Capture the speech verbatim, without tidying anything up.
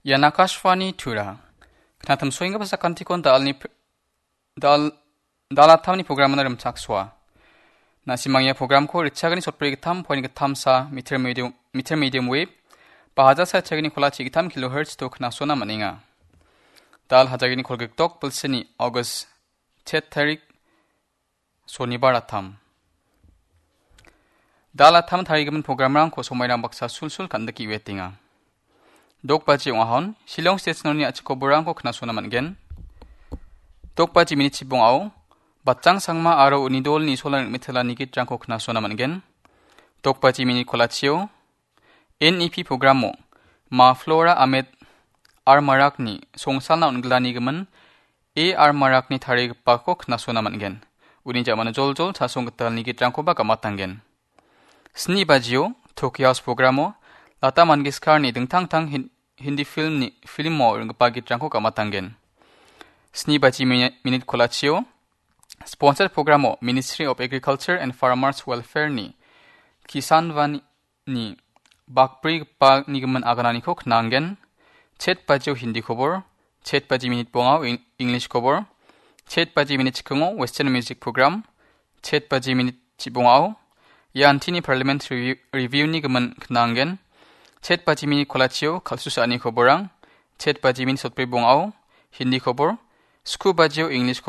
Ian Akashvani Tura. Knatam soenggipa sakantikon dalni pr-, dal-, dalatamni programana rimchaksoa. Nasimang ia programko ritchagani sotbri gittam, point gittamsa, meter medium, meter medium wave, ba hajar sa chagini kolachi gittam kilohertz to knasona man·enga. Dal hajagini kolgikdok bilsini August chet tarik Sonibar atam. Dal atam tarigimin programrangko somairang baksa sulsul kan·dike uetenga. Dok baji ong·ahon, Shillong State Noni a·chik koborangko knasona man·gen. Dok baji minit chibongao, Batjang Sangma aro uni dolni solan mitela nigitrangko knasona man·gen. Dok baji minit kolachio, N E P programo, Ma Flora Ahmed R Marakni songsalna on·gilanigimin A R Marakni tarigipako knasona man·gen. Uni jamano joljol chasong gitalni gitrangkoba gamatanggen. Sni bajio, Tokyo House programo, Lata Mangeshkarni dingtang tang Hin-, Hindi filmni, filmo ringgipa gitrangko gamatanggen. Sni baji mini-, minit kolachio, sponsored programo, Ministry of Agriculture and Farmers Welfare-ni Kisan Van ni bakbrigipa nigimin agananiko knanggen. Chet bajio Hindi kobor, chet baji minit bongao Eng-, English kobor, chet baji minit chikongo Western music program, chet baji minit chibongao Iantini Parliament Review, Review nigimin knanggen. Chet baji minit kolachio kalsu sa·ani koborang, chet baji minit sotbri bongao Hindi kobor, sku bajio English